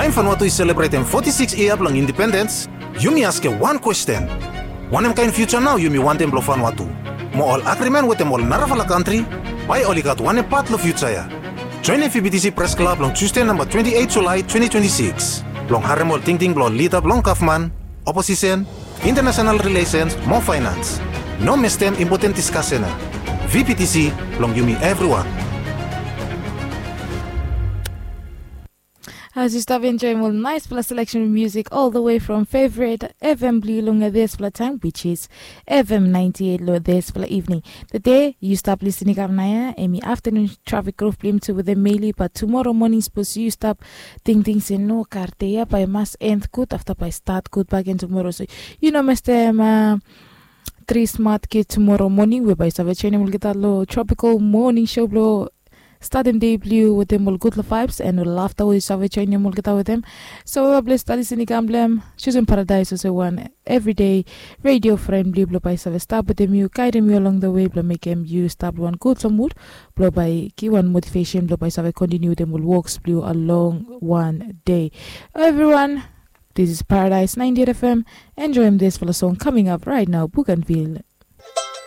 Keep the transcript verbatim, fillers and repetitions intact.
Taem Vanuatu i selebretem foti sikis yia blong indipendens, yumi askem wan kwesten. Wanem kaen fiuja nao yumi wantem blong Vanuatu? Mo ol agrimen wetem ol narafala kantri, bae oli gat wanem pat long fiuja ya? Joenem VBTC Pres Klab long Tusde namba twenti eit Julae twenti twenti sikis blong harem ol tingting blong ol lida blong gavman, oposisen, intanasenal rilesens mo faenans. No mestem impoten diskasen ya. VBTC blong yumi evriwan. As yu stap enjoem ol naespela seleksen musik all the way from favorite FM blong yu long dispela taem, which is FM ninety eight long dispela evening. Tede yu stap lisin i kam naia, em i afternoon traffic group blong yumi tu wetem Meli, but tumora moning sapos yu stap tingting se no, kar de ya bae i mas end gud, afta bae i stat gud bakegen tumora. So yu no mestem uh, tri smat kid tumora moning we bae i save joinim olgeta long tropical morning show blong statim dei blong yu wetem ol gudfala vibes and ol lafta we yu save joinim olgeta wetem. So we bae blong stap lisin i kam blong em, Susan Paradise olsem wan everyday radio friend blong yu blong bae i save stap wetem yu, guidem yu along the way blong mekem yu stap long wan gudfala mood blong bae givim wan motivation blong bae i save kontiniu wetem ol woks blong yu along wan day. Everyone, this is Paradise ninety eight FM. Enjoyim dispela song coming up right now, Bougainville.